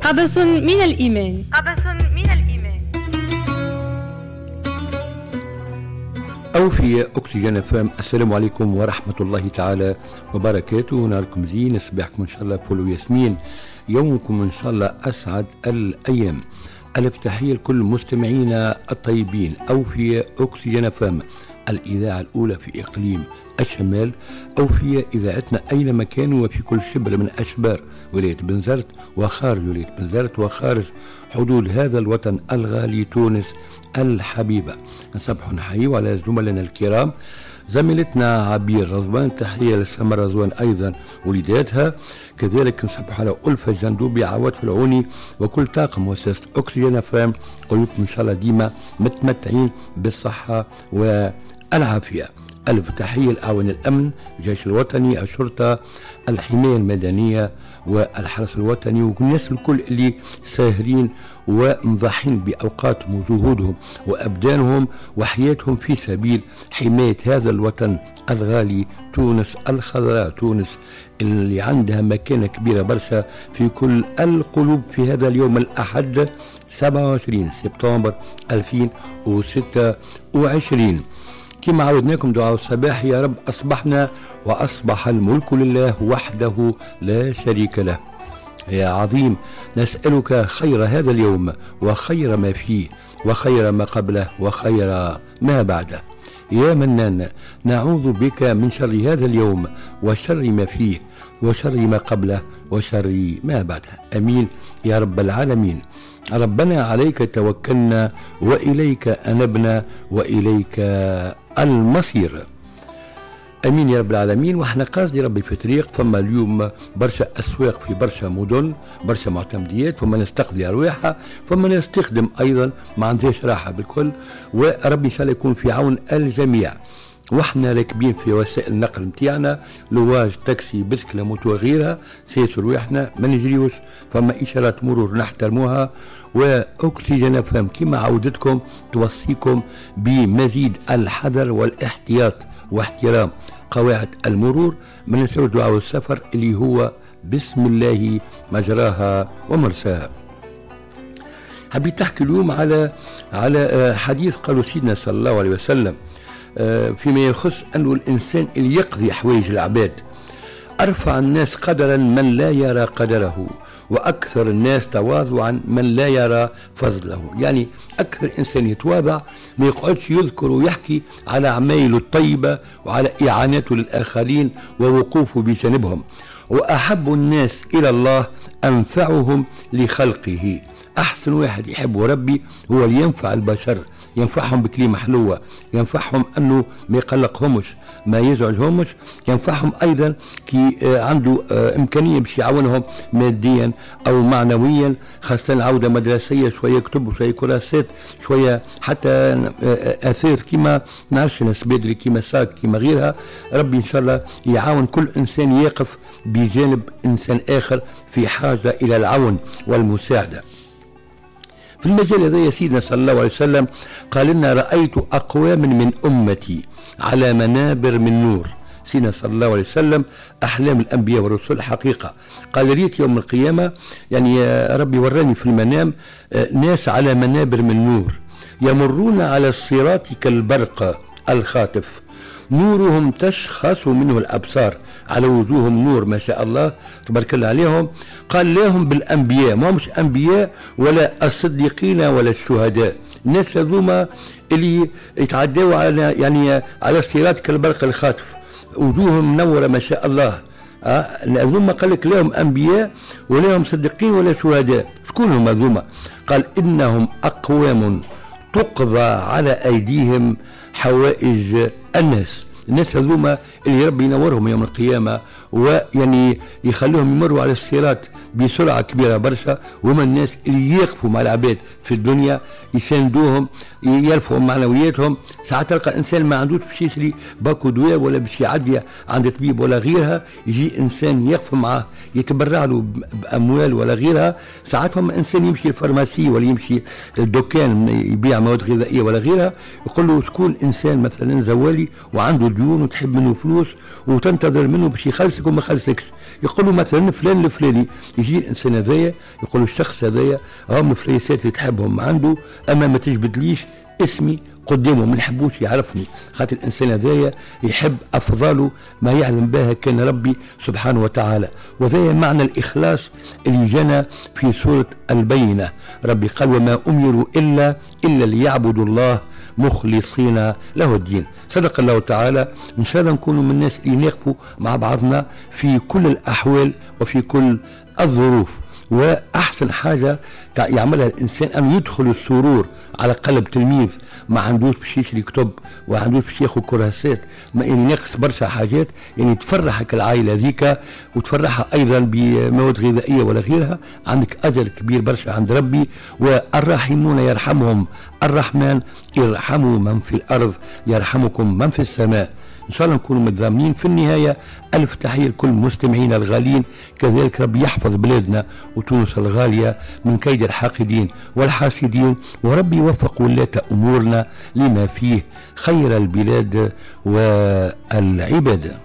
قبس من الإيمان. قبس من الإيمان. أوفياء أكسجين FM، السلام عليكم ورحمة الله تعالى وبركاته. نهاركم زين، صباحكم إن شاء الله فل وياسمين، يومكم إن شاء الله أسعد الأيام. ألف تحية لكل مستمعينا الطيبين. أوفياء أكسجين FM، الإذاعة الأولى في إقليم الشمال. أوفياء إذاعتنا أينما كانوا وفي كل شبر من أشبار ولاية بنزرت وخارج ولاية بنزرت وخارج حدود هذا الوطن الغالي تونس الحبيبة. نصبح نحيي على زملائنا الكرام، زميلتنا عبير رضوان، تحية لسمر رضوان أيضا وليداتها، كذلك نصبح على ألفة الجندوبي، عواد العوني، وكل طاقم مؤسسة أكسجين FM. قلوبكم إن شاء الله ديما متمتعين بالصحة والعافية. ألف تحية لأعوان الأمن، الجيش الوطني، الشرطة، الحماية المدنية والحرس الوطني، والناس الكل اللي ساهرين ومضحين بأوقاتهم وجهودهم وأبدانهم وحياتهم في سبيل حماية هذا الوطن الغالي تونس الخضراء، تونس اللي عندها مكانة كبيرة برشا في كل القلوب. في هذا اليوم الأحد 27 سبتمبر 2026، كما عودناكم دعاء الصباح: يا رب أصبحنا وأصبح الملك لله وحده لا شريك له. يا عظيم نسألك خير هذا اليوم وخير ما فيه وخير ما قبله وخير ما بعده. يا منان نعوذ بك من شر هذا اليوم وشر ما فيه وشر ما قبله وشر ما بعده. أمين يا رب العالمين. ربنا عليك توكلنا وإليك أنبنا وإليك المصير. أمين يا رب العالمين. وإحنا قاصدي ربي في طريق، فما اليوم برشا أسواق في برشا مدن، برشا معتمديات، فما ناس تقضي أرواحها، فما ناس تخدم أيضا، ما عندهاش راحة بالكل، وربي إن شاء الله يكون في عون الجميع. واحنا راكبين في وسائل النقل نتاعنا، لواج، تاكسي، بسكلة، موتو، غيرها، سيسوا رواحنا، ما نجريوش، فما إشارات مرور نحترموها. وأكسجين FM كما عودتكم توصيكم بمزيد الحذر والاحتياط واحترام قواعد المرور. ما ننساوش دعاء السفر اللي هو بسم الله مجراها ومرساها. حبيت تحكي اليوم على حديث قالوا سيدنا صلى الله عليه وسلم فيما يخص أنه الإنسان اللي يقضي حوايج العباد. أرفع الناس قدرا من لا يرى قدره، وأكثر الناس تواضعا من لا يرى فضله. يعني أكثر إنسان يتواضع ما يقعدش يذكر ويحكي على عمايله الطيبة وعلى إعانته للآخرين ووقوفه بجانبهم. وأحب الناس إلى الله أنفعهم لخلقه. أحسن واحد يحبه ربي هو اللي ينفع البشر، ينفعهم بكلمة حلوة، ينفعهم أنه ما يقلقهمش، ما يزعجهمش، ينفعهم أيضا كي عنده إمكانية باش يعاونهم ماديا أو معنويا، خاصة عودة مدرسية، شوية كتب وشوية كراسات، شوية حتى أثاث كما نعرفش ناس بدري كما ساك كما غيرها. ربي إن شاء الله يعاون كل إنسان يقف بجانب إنسان آخر في حاجة إلى العون والمساعدة. في المجال هذا يا سيدنا صلى الله عليه وسلم قال لنا: رأيت أقواما من أمتي على منابر من نور. سيدنا صلى الله عليه وسلم أحلام الأنبياء والرسل حقيقة. قال ريت يوم القيامة، يعني ربي وراني في المنام ناس على منابر من نور يمرون على الصراط كالبرق الخاطف، نورهم تشخص منه الأبصار، على وجوههم نور ما شاء الله تبارك الله عليهم. قال لهم بالأنبياء، ما مش أنبياء ولا الصديقين ولا الشهداء، الناس هذوما اللي يتعدوا على يعني على الصراط كالبرق الخاطف، وجوههم منورة ما شاء الله. هذوما قال لك لهم أنبياء ولا هم صديقين ولا شهداء. شكون هم هذوما؟ قال إنهم أقوام تقضى على أيديهم حوائج الناس. الناس هذوما اللي ربي ينورهم يوم القيامة ويعني يخلوهم يمروا على الصراط بسرعة كبيرة برشا، وهما الناس اللي يقفوا مع العباد في الدنيا، يساندوهم، يرفعوا معنوياتهم. ساعات تلقى إنسان ما عندوش باش يشري باكو دواء ولا باش يعدي عند طبيب ولا غيرها، يجي إنسان يقف معاه يتبرع له بأموال ولا غيرها. ساعات هم إنسان يمشي ال pharmacie ولا يمشي الدكان يبيع مواد غذائية ولا غيرها، يقول له شكون إنسان مثلا زوالي وعنده ديون وتحب منه فلوس وتنتظر منه باش يخلصك وما خلصكش، يقول له مثلا فلان الفلاني، يجي يجي الانسان هذايا يقول الشخص هذايا راهم الفليسات اللي تحبهم عنده، اما ما تجبدليش اسمي قدامه، ما نحبوش يعرفني، خاطر الانسان هذايا يحب افضاله ما يعلم بها كان ربي سبحانه وتعالى. وذا معنى الاخلاص اللي جانا في سورة البينة، ربي قال وما امروا الا ليعبدوا الله مخلصين له الدين. صدق الله تعالى. ان شاء الله نكونوا من الناس اللي نقفوا مع بعضنا في كل الاحوال وفي كل الظروف. واحسن حاجة يعملها الانسان ان يدخل السرور على قلب تلميذ ما عندوش باش يشري كتب وما عندوش باش ياخذ كراسات، ما يعني ناقص برشا حاجات، يعني تفرحك العائلة ذيك وتفرحها ايضا بمواد غذائية ولا غيرها، عندك اجر كبير برشا عند ربي. والراحمون يرحمهم الرحمن، ارحموا من في الارض يرحمكم من في السماء. إن شاء الله نكونوا متضامنين. في النهاية ألف تحية لكل مستمعينا الغالين، كذلك ربي يحفظ بلادنا وتونس الغالية من كيد الحاقدين والحاسدين، وربي يوفق ولاة أمورنا لما فيه خير البلاد والعباد.